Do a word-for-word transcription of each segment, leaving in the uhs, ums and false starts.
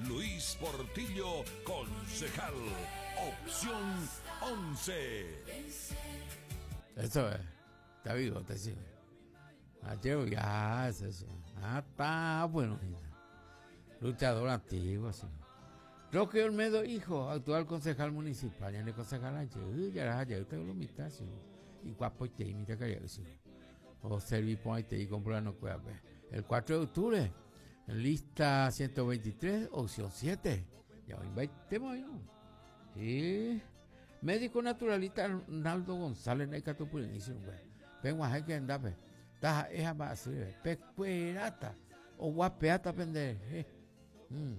Luis Portillo, concejal. Opción once. Eso es. Está vivo, está sí. Ayer ya, eso sí. Ah, está bueno. Luchador antiguo, sí. Roque Olmedo, hijo, actual concejal municipal. Ya le concejal ayer, ya era ayer, usted lo mitad, sí. Y guapo y te imita que sí. O serví y te y comprar no cueva. El cuatro de octubre, lista ciento veintitrés, opción siete. Ya hoy va, ¿no? Sí. Médico naturalista Arnaldo González, en el Catupurín, güey. Vengo a que andape. Taja, esa va a ser. Pecuerata. O guapeata, pendeje. Mm.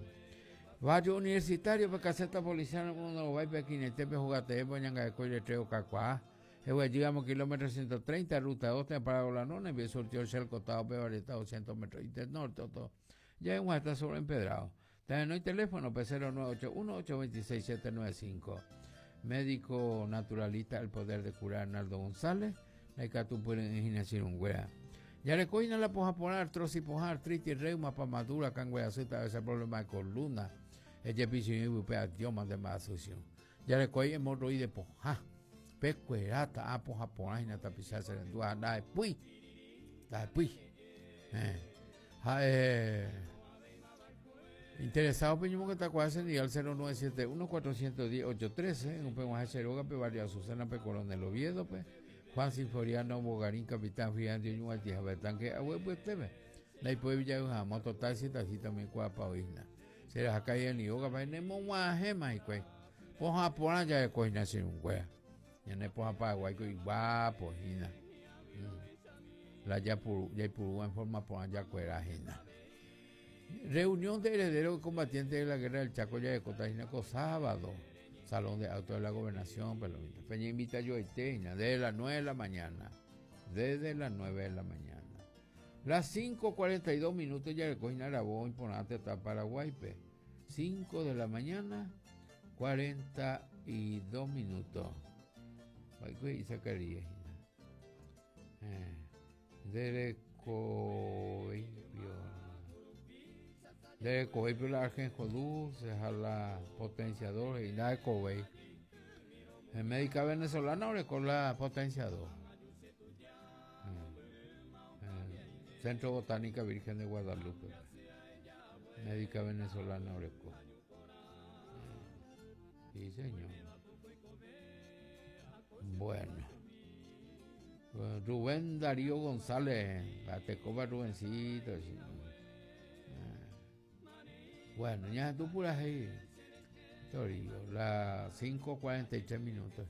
Barrio universitario, pe caseta policial, uno va y pequinete, pe jugate, pe ñanga de coire, treo, cacuá. Ewe, llegamos kilómetro ciento treinta, ruta dos, te para la nona, y surtió el cel costado, pe varietado, doscientos metros, y del norte, todo. Ya en está sobre empedrado. También no hay teléfono, pe cero nueve ocho uno, ocho veintiséis, siete nueve cinco. Médico naturalista, el poder de curar, Arnaldo González, la Icatupuren en Ginasirungüea. Ya le coina la poja por artrosis, poja artritis, reuma, pamadura, cangüea, a veces problema de columna. El yepicio y upea, Dios mande más asociación. Ya le coina hemorroide poja. Pecuerata, a poja por ahí, tapizar, serendúa, da de pui. Da de pui. Eh. Ja, eh. Interesado, peño que está cuasi en al cero nueve siete uno, cuatrocientos diez, ocho trece, en un peguaje Ceroga, pe barrio Azucena, pe Coronel Oviedo, pe Juan Sinforiano, Bogarín, Capitán Fidel, Dios, Altija, Betanque, Agüe, pues, teme. La hipo de Villa Moto Taxi, taxi también, cuapa, oína. Será acá y en Yoga, pa, nemo, guaje, ma, y cue. Poja, por allá de coina, sin un cuea. Ya no poja pa, guay, y guapo, hina. La ya puru, ya puru, en forma por allá, cuera, hina. Reunión de herederos combatientes de la guerra del Chaco, ya de Cotajinaco, sábado. Salón de Actos de la Gobernación, Pelomita. Peña invita yo a Teña, desde las nueve de la mañana. Desde las nueve de la mañana. Las cinco cuarenta y dos minutos ya le cogen Arabó, imponente hasta Paraguay, pe. cinco de la mañana, cuarenta y dos minutos. Ay, güey, sacaría. Eh, de Cobey, pero la Argenjo Dulce, a la potenciador y la de Cobey. En médica venezolana o con la potenciador. Eh, eh, Centro Botánica Virgen de Guadalupe. Médica venezolana Oreco. Eh, sí, señor. Bueno. Rubén Darío González, la tecoba Rubencito. Sí. Bueno, ya tú puras ahí. Torillo, las cinco cuarenta y tres minutos.